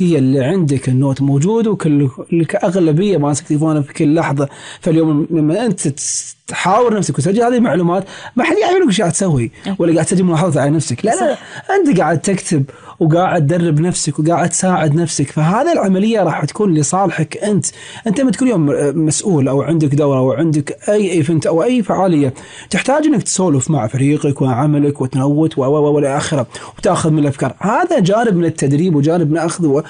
هي اللي عندك النوت موجود وكل أغلبية ماسك تليفونه في كل لحظة. فاليوم لما أنت تحاور نفسك وتسجل هذه المعلومات ما حد يعرف ايش قاعد تسوي ولا قاعد تسجل ملاحظة على نفسك. لا أنت قاعد تكتب وقاعد تدرب نفسك وقاعد تساعد نفسك. فهذا العملية راح تكون لصالحك أنت ما تكون يوم مسؤول أو عندك دورة أو عندك أي إيفنت أو أي فعالية تحتاج إنك تسولف مع فريقك وعملك وتنوت ولا آخره وتأخذ من الأفكار. هذا جانب من التدريب وجانب من أخذ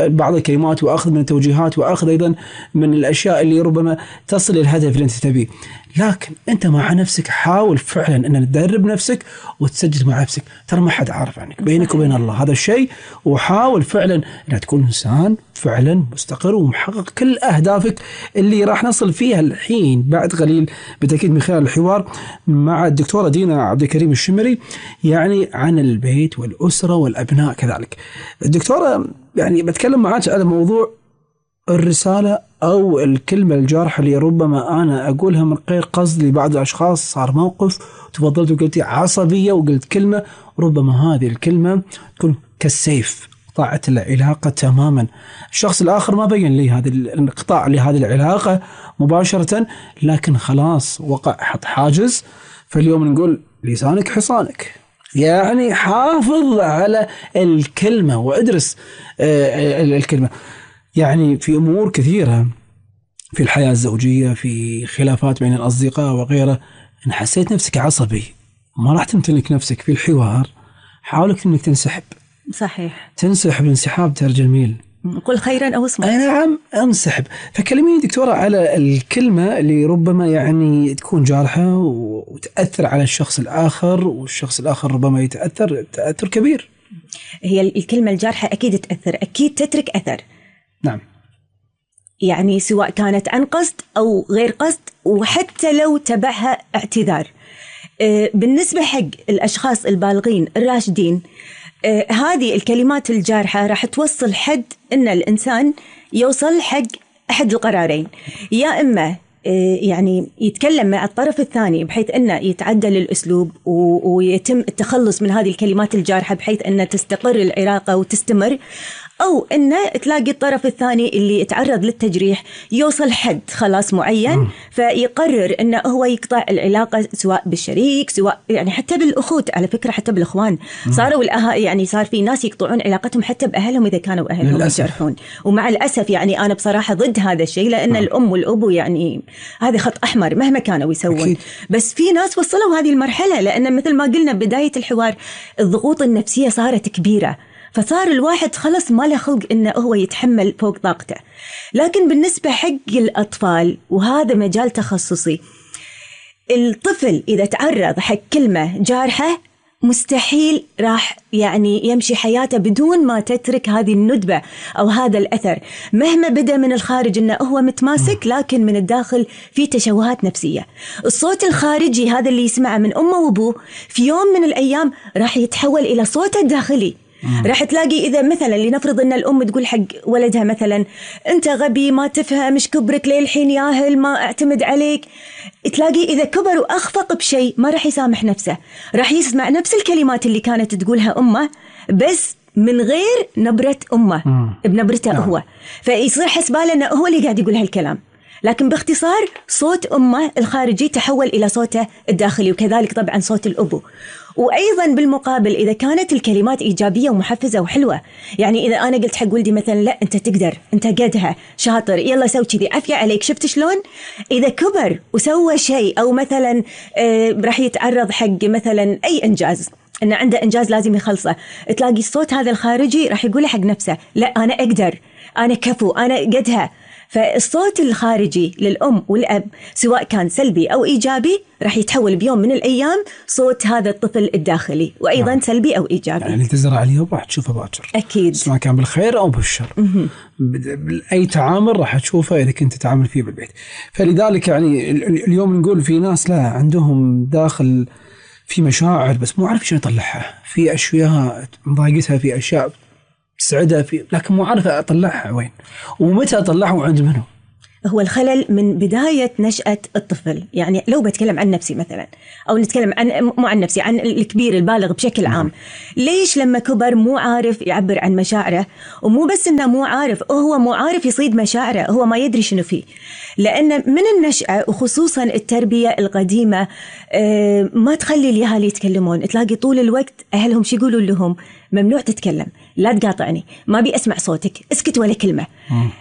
بعض الكلمات وأخذ من التوجيهات وأخذ أيضا من الأشياء اللي ربما تصل الهدف اللي أنت تبيه. لكن أنت مع نفسك حاول فعلا أن تدرب نفسك وتسجل مع نفسك. ترى ما حد عارف عنك بينك وبين الله هذا الشيء. وحاول فعلا أن تكون إنسان فعلا مستقر ومحقق كل أهدافك اللي راح نصل فيها الحين بعد قليل بالتأكيد من خلال الحوار مع الدكتورة دينا عبد الكريم الشمري يعني عن البيت والأسرة والأبناء كذلك. الدكتورة يعني بتكلم معاك على موضوع الرسالة أو الكلمة الجارحة اللي ربما أنا أقولها من غير قصد لبعض الأشخاص. صار موقف وتفضلت وقلتي عصبية وقلت كلمة ربما هذه الكلمة تكون كالسيف قطعت العلاقة تماما. الشخص الآخر ما بين لي هذا الانقطاع لهذه العلاقة مباشرة لكن خلاص وقع حط حاجز. فاليوم نقول لسانك حصانك يعني حافظ على الكلمة وادرس الكلمة. يعني في أمور كثيرة في الحياة الزوجية في خلافات بين الأصدقاء وغيره إن حسيت نفسك عصبي ما راح تمتلك نفسك في الحوار حاولك إنك تنسحب. صحيح تنسحب انسحاب ترى جميل. قل خيرا أو اصمت. نعم انسحب. فكلميني دكتورة على الكلمة اللي ربما يعني تكون جارحة وتأثر على الشخص الآخر والشخص الآخر ربما يتأثر تأثر كبير. هي الكلمة الجارحة أكيد تأثر أكيد تترك أثر. نعم يعني سواء كانت عن قصد أو غير قصد وحتى لو تبعها اعتذار. بالنسبة حق الأشخاص البالغين الراشدين هذه الكلمات الجارحة راح توصل حد إن الإنسان يوصل حق أحد القرارين. يا إما يعني يتكلم مع الطرف الثاني بحيث أنه يتعدل الأسلوب ويتم التخلص من هذه الكلمات الجارحة بحيث أنه تستقر العلاقة وتستمر، أو أنه تلاقي الطرف الثاني اللي يتعرض للتجريح يوصل حد خلاص معين فيقرر أنه هو يقطع العلاقة سواء بالشريك سواء يعني حتى بالأخوت. على فكرة حتى بالإخوان صاروا يعني صار في ناس يقطعون علاقتهم حتى بأهلهم إذا كانوا أهلهم يجرحون. ومع الأسف يعني أنا بصراحة ضد هذا الشيء لأن الأم والأبو يعني هذا خط أحمر مهما كانوا يسوون أكيد. بس في ناس وصلوا هذه المرحلة لأن مثل ما قلنا بداية الحوار الضغوط النفسية صارت كبيرة فصار الواحد خلص ما له خلق إنه هو يتحمل فوق طاقته. لكن بالنسبة حق الأطفال وهذا مجال تخصصي، الطفل إذا تعرض حق كلمة جارحة مستحيل راح يعني يمشي حياته بدون ما تترك هذه الندبة أو هذا الأثر مهما بدأ من الخارج إنه هو متماسك لكن من الداخل في تشوهات نفسية. الصوت الخارجي هذا اللي يسمعه من أمه وأبوه في يوم من الأيام راح يتحول إلى صوته الداخلي. راح تلاقي إذا مثلا لنفرض أن الأم تقول حق ولدها مثلا أنت غبي ما تفهم مش كبرك ليه الحين ياهل ما أعتمد عليك، تلاقي إذا كبر وأخفق بشيء ما راح يسامح نفسه، راح يسمع نفس الكلمات اللي كانت تقولها أمه بس من غير نبرة أمه بنبرته هو، فيصير حسباله أنه هو اللي قاعد يقول هالكلام. لكن باختصار صوت أمه الخارجي تحول إلى صوته الداخلي وكذلك طبعا صوت الأبو. وأيضا بالمقابل إذا كانت الكلمات إيجابية ومحفزة وحلوة، يعني إذا أنا قلت حق ولدي مثلا لا أنت تقدر أنت قدها شاطر يلا سوي كذي عافية عليك شفت شلون، إذا كبر وسوى شيء أو مثلا راح يتعرض حق مثلا أي إنجاز إنه عنده إنجاز لازم يخلصه، تلاقي الصوت هذا الخارجي راح يقول حق نفسه لا أنا أقدر أنا كفو أنا قدها. فالصوت الخارجي للأم والأب سواء كان سلبي أو إيجابي راح يتحول بيوم من الأيام صوت هذا الطفل الداخلي وأيضا سلبي أو إيجابي. يعني تزرع اليوم راح تشوفه باكر أكيد سواء كان بالخير أو بالشر. أي تعامل راح تشوفه إذا كنت تتعامل فيه بالبيت. فلذلك يعني اليوم نقول في ناس لا عندهم داخل في مشاعر بس مو عارف شو يطلعها، في أشياء مضايقتها في أشياء تسعدها في لكن مو عارفة أطلعها وين ومتى أطلعها وعند منه. هو الخلل من بداية نشأة الطفل. يعني لو بتكلم عن نفسي مثلا، أو نتكلم عن مو عن نفسي، عن الكبير البالغ بشكل عام، ليش لما كبر مو عارف يعبر عن مشاعره؟ ومو بس إنه مو عارف، هو مو عارف يصيد مشاعره، هو ما يدري شنو فيه. لأن من النشأة وخصوصا التربية القديمة ما تخلي الأهالي يتكلمون. تلاقي طول الوقت أهلهم شو يقولوا لهم؟ ممنوع تتكلم، لا تقاطعني، ما بي أسمع صوتك، اسكت ولا كلمة.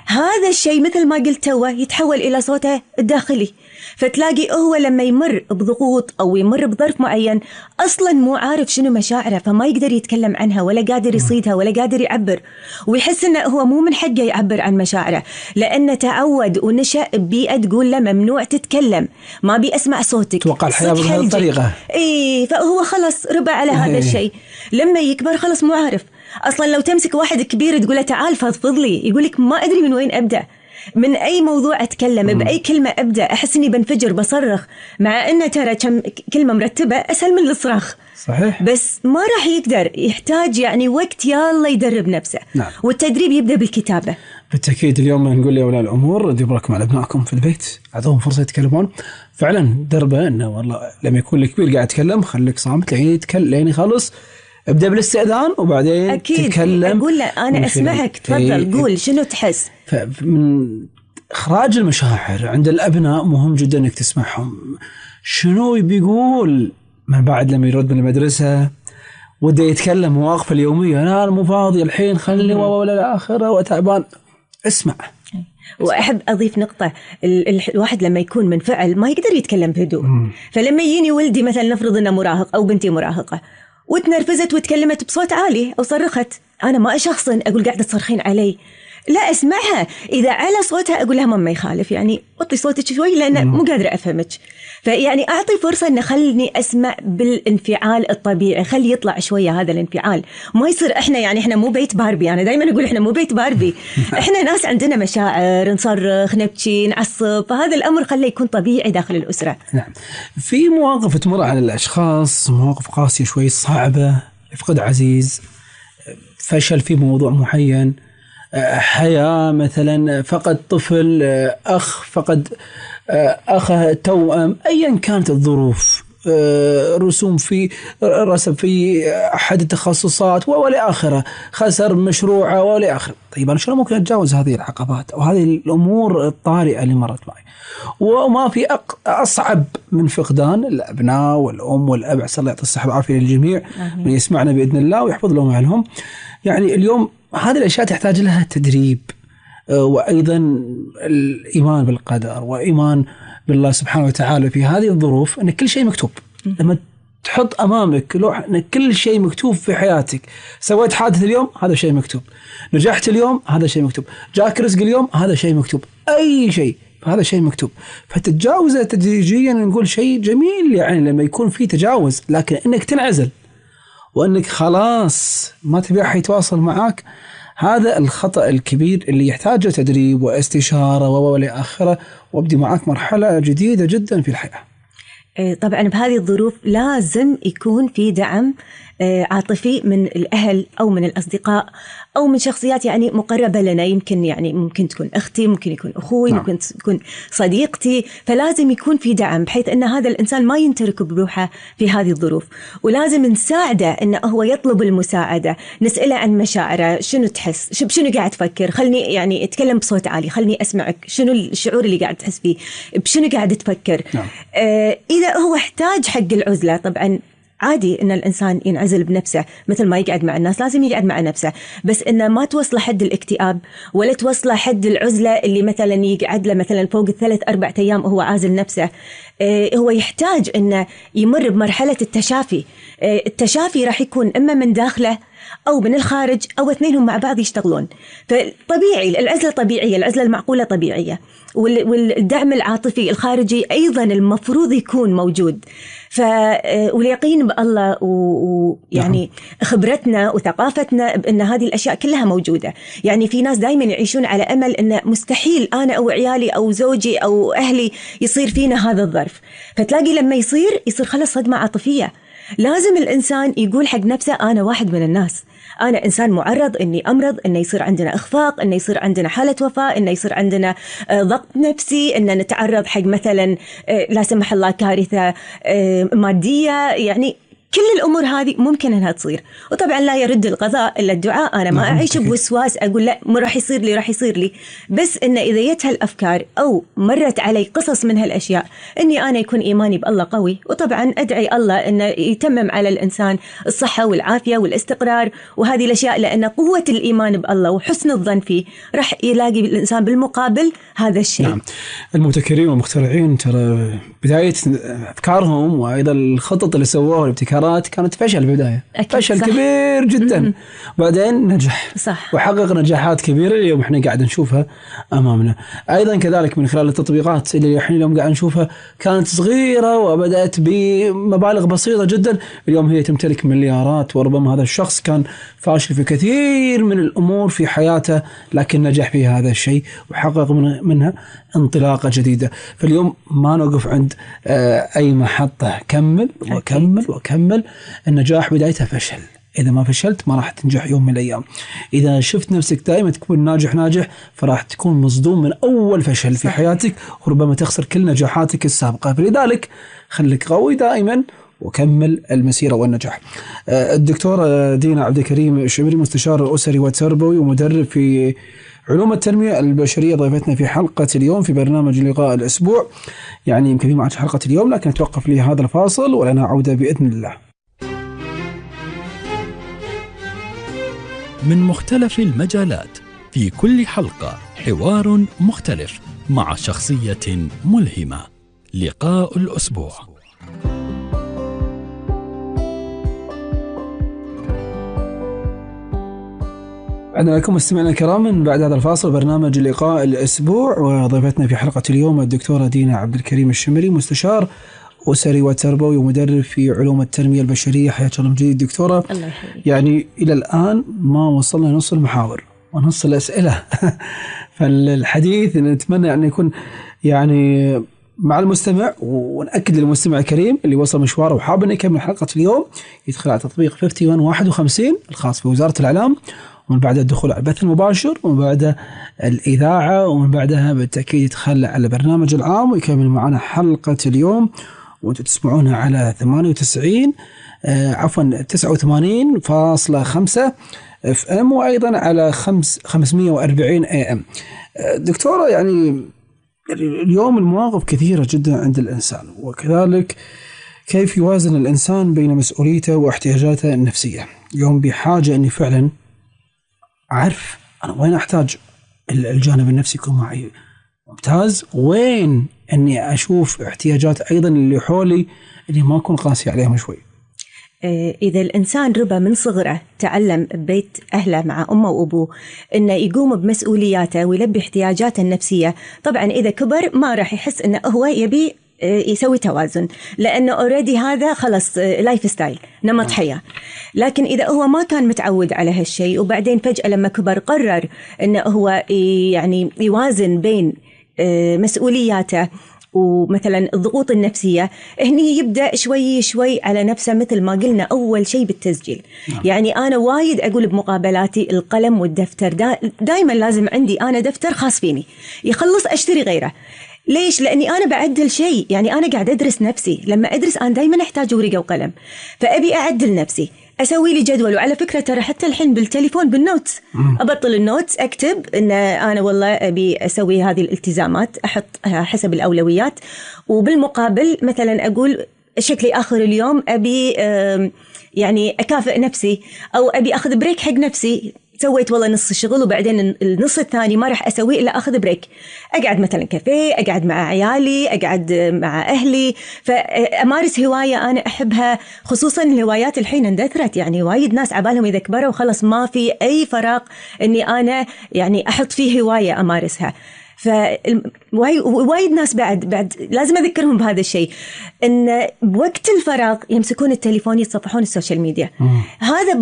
هذا الشيء مثل ما قلت توا يتحول إلى صوته الداخلي. فتلاقي هو لما يمر بضغوط أو يمر بظرف معين أصلا مو عارف شنو مشاعره، فما يقدر يتكلم عنها ولا قادر يصيدها ولا قادر يعبر، ويحس إنه هو مو من حقه يعبر عن مشاعره، لأنه تعود ونشأ ببيئة تقول له ممنوع تتكلم، ما بي أسمع صوتك، توقع الحياة بهذه الطريقة. فهو خلص ربى على هذا الشيء. لما يكبر خلص مو عارف أصلا. لو تمسك واحد كبير تقوله تعال فضفض لي، يقولك ما أدري من وين أبدأ، من أي موضوع أتكلم، بأي كلمة أبدأ، أحس إني بنفجر بصرخ، مع أنه ترى كم كلمة مرتبة أسهل من الصراخ. صحيح. بس ما راح يقدر، يحتاج يعني وقت يلا يدرب نفسه. نعم. والتدريب يبدأ بالكتابة. بالتأكيد اليوم نقول لأولياء الأمور ديروا بالكم على أبنائكم في البيت، أعطوهم فرصة يتكلمون. فعلا دربه إنه والله لما يكون الكبير قاعد يتكلم خليك صامت لين يتكلم لين يخلص، ابدأ بالاستئذان وبعدين أكيد تتكلم. أقول له أنا أسمعك، تفضل قول شنو تحس. من إخراج المشاعر عند الأبناء مهم جدا إنك تسمعهم شنو بيقول. من بعد لما يرد من المدرسة وده يتكلم مواقف اليومية، أنا مو فاضي الحين خلني ولا الآخرة وتعبان، اسمع. وأحب أضيف نقطة، الواحد لما يكون منفعل ما يقدر يتكلم بهدوء. فلما يجيني ولدي مثلا، نفرض إنه مراهق أو بنتي مراهقة وتنرفزت وتكلمت بصوت عالي أو صرخت، أنا ما أشخصن أقول قاعدة تصرخين علي، لا أسمعها. إذا على صوتها أقول لها ما يخالف، يعني وطي صوتك شوي لأن مو قادرة أفهمك. فيعني أعطي فرصة إن خلني أسمع بالانفعال الطبيعي، خلي يطلع شوية هذا الانفعال. ما يصير إحنا مو بيت باربي. أنا دايما أقول إحنا مو بيت باربي، إحنا ناس عندنا مشاعر، نصرخ، نبكي، نعصب. فهذا الأمر خليه يكون طبيعي داخل الأسرة. نعم. في مواقف تمر على الأشخاص، مواقف قاسية شوي صعبة، فقد عزيز، فشل في موضوع معين، حياة مثلا، فقد طفل، أخ فقد أخه توأم، أيا كانت الظروف، رسوم في رسب في أحد التخصصات ولا آخره، خسر مشروعه ولا آخره. طيب أنا شلون ممكن أتجاوز هذه العقبات أو هذه الأمور الطارئة اللي مرت معي؟ وما في أصعب من فقدان الأبناء والأم والأب. عسى الله يعطي الصحة والعافية للجميع من يسمعنا بإذن الله ويحفظ لهم أهلهم. يعني اليوم هذه الأشياء تحتاج لها تدريب، وأيضا الإيمان بالقدر وإيمان بالله سبحانه وتعالى في هذه الظروف، أن كل شيء مكتوب. لما تحط أمامك لوح أن كل شيء مكتوب في حياتك، سويت حادث اليوم هذا شيء مكتوب، نجحت اليوم هذا شيء مكتوب، جاك رزق اليوم هذا شيء مكتوب، أي شيء هذا شيء مكتوب. فتتجاوزه تدريجيا، نقول شيء جميل يعني لما يكون في تجاوز. لكن إنك تنعزل وأنك خلاص ما تبي أحد يتواصل معك، هذا الخطأ الكبير اللي يحتاج تدريب واستشارة ولا آخره، وابدي معك مرحلة جديدة جدا في الحياة. طبعا بهذه الظروف لازم يكون في دعم عاطفي من الأهل أو من الأصدقاء أو من شخصيات يعني مقربة لنا. يمكن يعني ممكن تكون أختي، ممكن يكون أخوي، ممكن تكون صديقتي. فلازم يكون في دعم بحيث أن هذا الإنسان ما ينترك بروحه في هذه الظروف، ولازم نساعده أنه هو يطلب المساعدة، نسأله عن مشاعره، شنو تحس، بشنو قاعد تفكر، خلني يعني اتكلم بصوت عالي، خلني أسمعك، شنو الشعور اللي قاعد تحس فيه، بشنو قاعد تفكر. إذا هو احتاج حق العزلة، طبعا عادي إن الإنسان ينعزل بنفسه مثل ما يقعد مع الناس، لازم يقعد مع نفسه، بس إنه ما توصل حد الاكتئاب ولا توصل حد العزلة اللي مثلا يقعد له مثلا فوق 3-4 أيام وهو عازل نفسه. هو يحتاج إنه يمر بمرحلة التشافي. التشافي راح يكون إما من داخله أو من الخارج أو اثنينهم مع بعض يشتغلون. فطبيعي العزلة طبيعية، العزلة المعقولة طبيعية، والدعم العاطفي الخارجي أيضا المفروض يكون موجود. واليقين بالله ويعني خبرتنا وثقافتنا بأن هذه الأشياء كلها موجودة. يعني في ناس دايما يعيشون على أمل أن مستحيل أنا أو عيالي أو زوجي أو أهلي يصير فينا هذا الظرف، فتلاقي لما يصير خلص صدمة عاطفية. لازم الإنسان يقول حق نفسه أنا واحد من الناس، أنا إنسان معرض إني أمرض، إنه يصير عندنا إخفاق، إنه يصير عندنا حالة وفاة، إنه يصير عندنا ضغط نفسي، إنه نتعرض حق مثلا لا سمح الله كارثة مادية. يعني كل الأمور هذه ممكن أنها تصير. وطبعا لا يرد القضاء إلا الدعاء. أنا ما أعيش بوسواس أقول لا ما راح يصير لي راح يصير لي، بس إن إذا جت هالأفكار أو مرت علي قصص من هالأشياء إني أنا يكون إيماني بالله قوي، وطبعا أدعي الله إنه يتمم على الإنسان الصحة والعافية والاستقرار وهذه الأشياء، لأن قوة الإيمان بالله وحسن الظن فيه راح يلاقي الإنسان بالمقابل هذا الشيء. نعم. المبتكرين والمخترعين ترى بداية أفكارهم وأيضا الخطط اللي سووها الابتكارات كانت فشل بالبداية، فشل كبير جدا، بعدين نجح صح. وحقق نجاحات كبيرة اليوم احنا قاعد نشوفها أمامنا. أيضا كذلك من خلال التطبيقات اللي احنا اليوم قاعد نشوفها كانت صغيرة وبدأت بمبالغ بسيطة جدا، اليوم هي تمتلك مليارات. وربما هذا الشخص كان فاشل في كثير من الأمور في حياته لكن نجح في هذا الشيء وحقق منها انطلاقة جديدة. فاليوم ما نوقف عند أي محطة، كمل وكمل وكمل. النجاح بدايته فشل، إذا ما فشلت ما راح تنجح يوم من الأيام. إذا شفت نفسك دائما تكون ناجح فراح تكون مصدوم من أول فشل في حياتك وربما تخسر كل نجاحاتك السابقة. فلذلك خليك قوي دائما وكمل المسيرة والنجاح. الدكتورة دينا عبد الكريم الشمري، مستشار أسري وتربوي ومدرب في علوم التنمية البشرية، ضيفتنا في حلقة اليوم في برنامج لقاء الأسبوع. يعني يمكن ما عاد حلقة اليوم لكن نتوقف لي هذا الفاصل ولنا عودة بإذن الله. من مختلف المجالات في كل حلقة حوار مختلف مع شخصية ملهمة. لقاء الأسبوع. عندنا لكم مستمعينا الكرام من بعد هذا الفاصل برنامج لقاء الأسبوع، وضيفتنا في حلقة اليوم الدكتورة دينا عبد الكريم الشمري، مستشار أسري وتربوي ومدرب في علوم التنمية البشرية. حياك الله من جديد دكتورة. الله يحييك. يعني إلى الآن ما وصلنا نص المحاور ونص الأسئلة فالحديث نتمنى أن يكون يعني مع المستمع، ونأكد للمستمع الكريم اللي وصل مشواره وحاب أن يكمل حلقة اليوم يدخل على تطبيق 51 الخاص بوزارة الإعلام، ومن بعد الدخول على البث المباشر، ومن بعد الإذاعة، ومن بعدها بالتأكيد يدخل على برنامج العام ويكمل معنا حلقة اليوم. وانتم تسمعونها على 89.5 FM وأيضا على 540 AM. دكتورة، يعني اليوم المواقف كثيرة جدا عند الإنسان، وكذلك كيف يوازن الإنسان بين مسؤوليته واحتياجاته النفسية. اليوم بحاجة أني فعلا أعرف أنا وين أحتاج الجانب النفسي يكون معي ممتاز، وين أني أشوف احتياجات أيضا اللي حولي اللي ما أكون قاسي عليهم شوي. إذا الإنسان ربى من صغره تعلم ببيت أهله مع أمه وأبوه إنه يقوم بمسؤولياته ويلبي احتياجاته النفسية، طبعا إذا كبر ما راح يحس إنه هو يبي يسوي توازن، لأنه أوريدي هذا خلص لايف ستايل، نمط حياة. لكن إذا هو ما كان متعود على هالشيء وبعدين فجأة لما كبر قرر إنه هو يعني يوازن بين مسؤولياته ومثلا الضغوط النفسية، هني يبدأ شوي شوي على نفسه. مثل ما قلنا أول شيء بالتسجيل. يعني أنا وايد أقول بمقابلاتي القلم والدفتر دايما لازم عندي أنا دفتر خاص فيني، يخلص أشتري غيره. ليش؟ لأني أنا بعدل شيء، يعني أنا قاعد أدرس نفسي. لما أدرس أنا دايما أحتاج ورقة وقلم، فأبي أعدل نفسي، أسوي لي جدول. وعلى فكرة ترى حتى الحين بالتليفون بالنوتس أبطل النوتس، أكتب إن أنا والله أبي أسوي هذه الالتزامات، أحط حسب الأولويات. وبالمقابل مثلا أقول شكلي آخر اليوم أبي يعني أكافئ نفسي، أو أبي أخذ بريك حق نفسي. سويت والله نص الشغل وبعدين النص الثاني ما راح أسويه إلا أخذ بريك، أقعد مثلا كافيه، أقعد مع عيالي، أقعد مع أهلي، فأمارس هواية أنا أحبها. خصوصا الهوايات الحين اندثرت، يعني وايد ناس عبالهم إذا كبروا وخلص ما في أي فراغ إني أنا يعني أحط فيه هواية أمارسها. فوايد ناس بعد لازم أذكرهم بهذا الشيء، إن بوقت الفراغ يمسكون التليفون يتصفحون السوشيال ميديا. هذا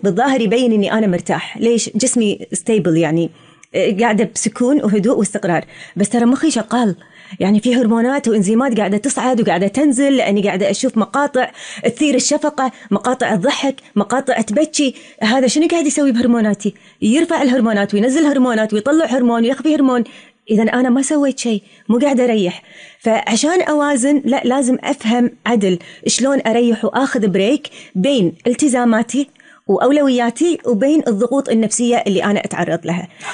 بالظاهر يبين إني أنا مرتاح. ليش؟ جسمي ستيبل، يعني قاعدة بسكون وهدوء واستقرار، بس ترى مخي شغال، يعني في هرمونات وإنزيمات قاعدة تصعد وقاعدة تنزل، لأني قاعدة أشوف مقاطع تثير الشفقة، مقاطع الضحك، مقاطع تبكي. هذا شنو قاعد يسوي بهرموناتي؟ يرفع الهرمونات وينزل هرمونات ويطلع هرمون ويخفي هرمون. إذا أنا ما سويت شيء، مو قاعدة أريح. فعشان أوازن لا، لازم أفهم عدل شلون أريح وأخذ بريك بين التزاماتي وأولوياتي وبين الضغوط النفسية اللي أنا أتعرض لها.